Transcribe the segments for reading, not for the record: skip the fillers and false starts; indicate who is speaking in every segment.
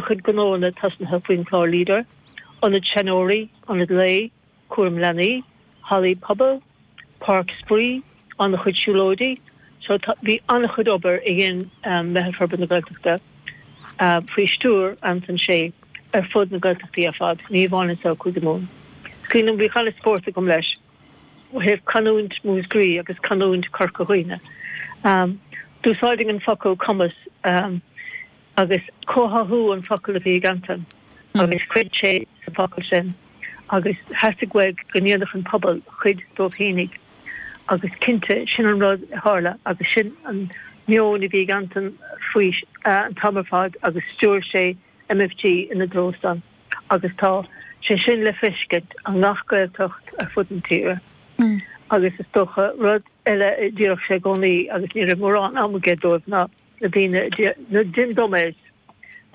Speaker 1: An-chuid gnóanna tosnaithe faoin chlár Leader, ionad seanóirí, ionad lae, cúram leanaí, hallaí pobail, páirc spraoi, an-chuid siúlóidí. So tá, bhí an-chuid obair a dhein Meitheal Forbartha na Gaeltachta faoi stiúir Antain Sé ar fud na Gaeltachtaí ar fad, ní amháin anseo i Cúige Mumhan. Is cuimhin liom bhí an-spórt agam leis ó thaobh canúint Mhúscraí agus canúint Chorca Dhuibhne. D'úsáidfinn an focal cumas. Agus comhtháthú an focal a bhí ag Antain agus chreid sé sa bhfocal sin agus theastaigh uaidh go ndéanfadh an pobal cuid dóibh fhéinig agus cinnte sin an rud a tharla agus sin an meon a bhí ag Antain faoi an t-am ar fad agus stiúir sé MFG ina dtreo san agus tá sé sin le feiscint i ngach Gaeltacht ar fud na tíre agus is dócha rud eile a déarfadh sé i gcónaí agus ní raibh mórán am aige dóibh ná na daoine, na dim dummies,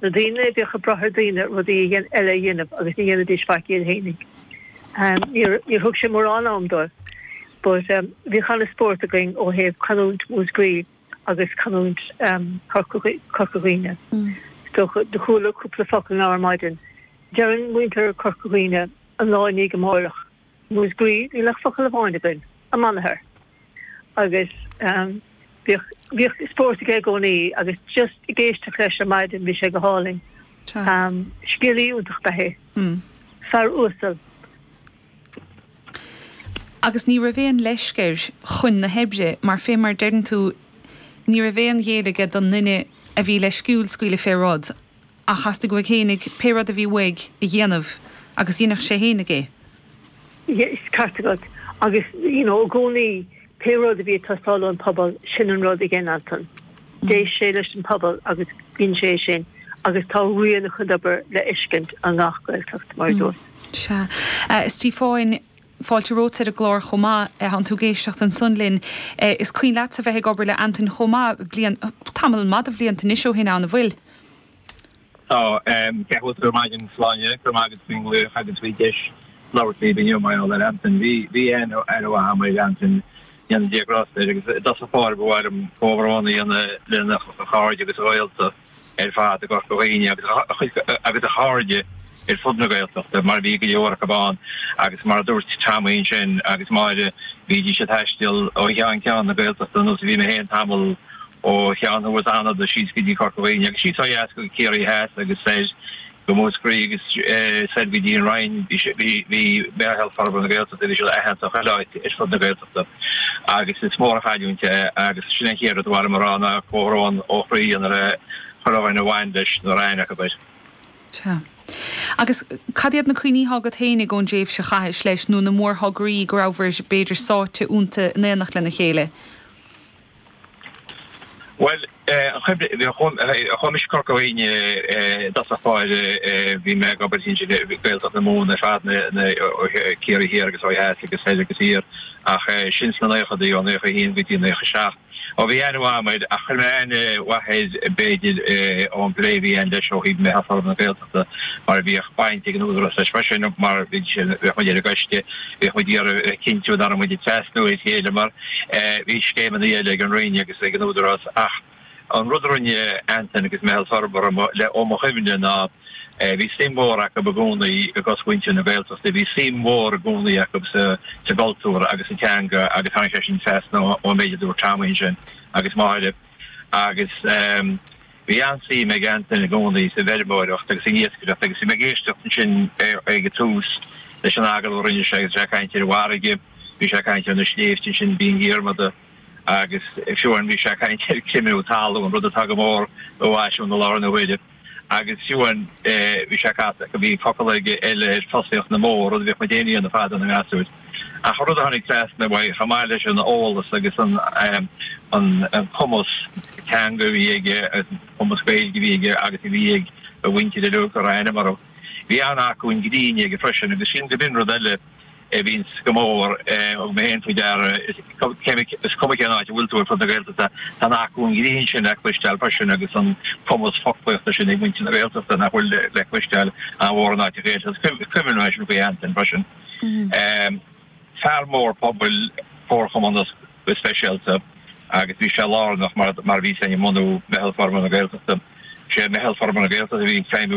Speaker 1: na daoine a bhíodh ag brath ar daoine rudaí eile a dhéanamh agus ní dhéanaidís faic iad fhéinig. Níor thug sé mórán am dóibh but bhíodh an-spórt againn ó thaobh canúint Mhúscraí agus canúint Chorca Dhuibhne. Is dócha, do chuala cúpla focal now ar maidin. Deireann muintir Chorca Dhuibhne an lá i ndiaidh amárach. Múscraí, níl ach focal amháin againn, amanathar. Agus bhíodh, bhíodh spórt aige i gcónaí agus just ag éisteacht leis ar maidin bhí sé go hálainn. Scéalaí iontach ab ea é. Fear uasal.
Speaker 2: Agus ní raibh aon leisc air chun na hoibre mar fé mar deireann tú ní raibh aon ghéilleadh aige don nduine a bhí leisciúil scaoileadh fé rud. Ach theastaigh uaidh fhéinig pé rud a bhí uaidh a dhéanamh agus dheineadh sé fhéinig é.
Speaker 1: Is ceart agat. Agus, you know, i gcónaí, pé rud a bhí ag teastáil ón pobal, sin an rud a dhein Antain. D'éist sé leis an pobal agus dhein sé é sin agus tá rian a chuid obair le fheiscint i ngach Gaeltacht, mar a dúirt.
Speaker 2: Sea. A Stíofáin, fáilte romhat ar an gclár chomh maith. Tánn tú ag éisteacht ansan linn. Is cuimhin leatsa bheith ag obair le Antain chomh maith, bliain, tamall maith de bhlianta anois ó shin ann, an bhfuil?
Speaker 3: Tá. Cén chaoi a bhfuil tú ar maidin, Sláine? Go raibh maith agat faoin nglaoch agus faoin deis labhairt libh inniu mar gheall ar Antain. Bhí, bhí aithne mhaith agam ar Antain, go ndéana Dia grásta air, agus i dtosach báire ba mhaith liom comhbhrón a dhéanamh lena chairde agus a ghaolta ar fad i gCorca Dhuibhne agus a chuid, agus a chairde ar fud na Gaeltachta, mar bhí go leor acu ann agus mar a dúirt Tommy ansin agus Máire, bhídís ag taisteal ó cheann ceann na Gaeltachta ar nós a bhí mé féin tamall ó cheann thuas Fhánada síos go dtí Corca Dhuibhne agus síos ó dheas go Ciarraí Theas agus soir go Múscraí agus soir go dtí an Rinn. Bhí Meitheal Forbartha na Gaeltachta, bhí siad aitheanta chuile áit ar fud na Gaeltachta agus is mór an chailliúint é agus sin an chéad rud a ba mhaith liom a rá ná comhbhrón ó chroí a dhéanamh le chuile dhuine a bhain leis nó a raibh aithne acu air.
Speaker 2: Sea. Agus cad iad na cuimhní atá agat fhéinig ón dtréimhse a chaithis leis nó na mórthograí go rabhabhair b'fhéidir sáite iontu in éineacht lena chéile?
Speaker 3: Bhuel, chuaigh mise Corca Dhuibhne i dtosach báire, bhí mé ag obair ansin i Gaeltacht na Mumhan ar fad, Ciarraí Thiar agus ó dheas agus soir agus thiar, ach sin sna naochadaí, ó 91 go dtí 97. Ó bhí aithne mhaith agam air, ach chuir mé aithne mhaith air b'fhéidir ón bplé a bhí againn leis ó thaobh Meitheal Forbartha na Gaeltachta. mar bhíodh baint ag an Údarás leis freisin, mar bhí sé, bhíodh muid ar an gcoiste, bhíodh muid ag iarraidh a chinntiú nach raibh muid ag trasnú ar chéile mar bhí scéimeanna eile ag an Roinn agus ag an Údarás ach an rud a rinne Antain agus Meitheal Forbartha le ó mo chuimhne ná bhí suim mhór acu i gcónaí i gcosmhuintir na Gaeltachta, bhí suim mhór i gcónaí acu sa gcultúr agus sa teanga agus tháinig sé sin trasna ón méid a dúirt Tommy ansin agus Máire agus. Bhí an-suim ag Antain i gcónaí sa bhfeirmeoireacht agus san iascaireacht agus bhí mé ag éisteacht ansin ag an tús leis an agallamh a rinne sé agus é ag caint ar an bhfarraige, bhí sé ag caint ar na sléibhte ansin, Binn Dhiarmada agus fiú amháin bhí sé ag caint ar chreimhiú talún, rud atá go mór i bhfaisiún i láthair na huaire. Agus fiú amháin bhí sé ag casadh, bhí focal aige eile ar fosaíocht na mbó, rud a bhíodh muid féin a dhéanamh fadó na ngasúir. Ach an rud a tháinig trasna uaidh, chomh maith leis an eolas agus an cumas teanga a bhí aige, an cumas Gaeilge a bhí aige agus a bhí ag a mhuintir uilig a raibh ainm orthu, bhí an-acmhainn grinn aige freisin agus sin go b'in rud eile a bhíonns go mór, thug mé féin faoi deara, is cuma cén áit a bhfuil tú ar fud na Gaeltachta, tá an acmhainn ghrinn sin le cloisteáil freisin agus an cumas foclaíochta sin ag muintir na Gaeltachta nach bhfuil le cloisteáil i mórán áiteacha eile. Is cuimhin liom é sin faoi Antain freisin. Fear mór pobail, comharchumannach go speisialta agus bhí sé lárnach mar a bhí sé i mbunú Meitheal Forbartha na Gaeltachta. Sé Meitheal Forbartha na Gaeltachta a bhí ag feidhmiú.